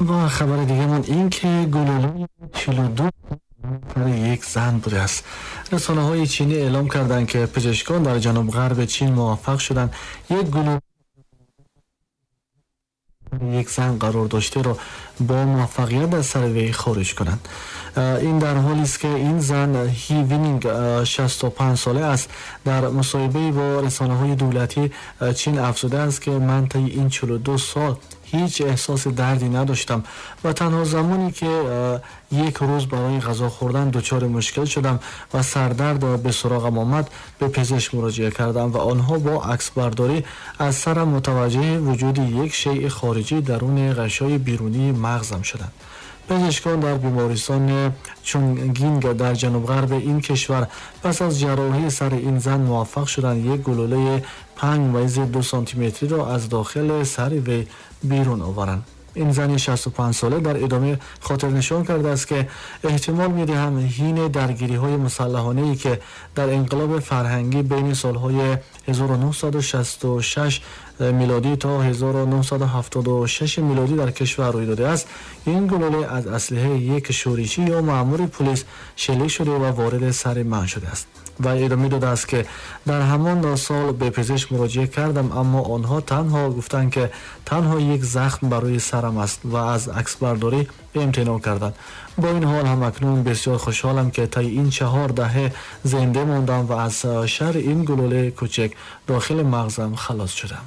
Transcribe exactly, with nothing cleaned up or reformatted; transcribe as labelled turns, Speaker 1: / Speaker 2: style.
Speaker 1: و خبر دیگه من این که گلوله چهل و دو یک زن بوده است. رسانه های چینی اعلام کردند که پزشکان در جنوب غرب چین موفق شدند یک گلوله یک زن قرار داشته را با موفقیت از سر وی خارج کنند. این در حالی است که این زن هی وینینگ شصت و پنج ساله است. در مصاحبه با رسانه های دولتی چین افزوده است که من طی این چهل و دو سال هیچ احساس دردی نداشتم و تنها زمانی که یک روز برای غذا خوردن دچار مشکل شدم و سردرد به سراغم آمد به پزشک مراجعه کردم و آنها با عکس برداری از سرم متوجه وجود یک شیء خارجی درون غشای بیرونی مغزم شدند. پزشکان در بیمارستان چونگینگ در جنوب غرب این کشور پس از جراحی سر این زن موفق شدند یک گلوله پنج ممیز دو سانتی متری را از داخل سر وی بیرون آورند. این زن شصت و پنج ساله در ادامه خاطر نشان کرده است که احتمال می‌دهم حین درگیری‌های مسلحانه‌ای که در انقلاب فرهنگی بین سال‌های هزار و نهصد و شصت و شش میلادی تا هزار و نهصد و هفتاد و شش میلادی در کشور روی داده است، این گلوله از اسلحه یک شورشی یا مأمور پلیس شلیک شده و وارد سر من شده است. و ادامه داده است که در همان سال به پزشک مراجعه کردم، اما آنها تنها گفتند که تنها یک زخم برای سرم است و از عکس برداری امتناع کردند. با این حال هم اکنون بسیار خوشحالم که طی این چهار دهه زنده ماندم و از شر این گلوله کوچک داخل مغزم خلاص شدم.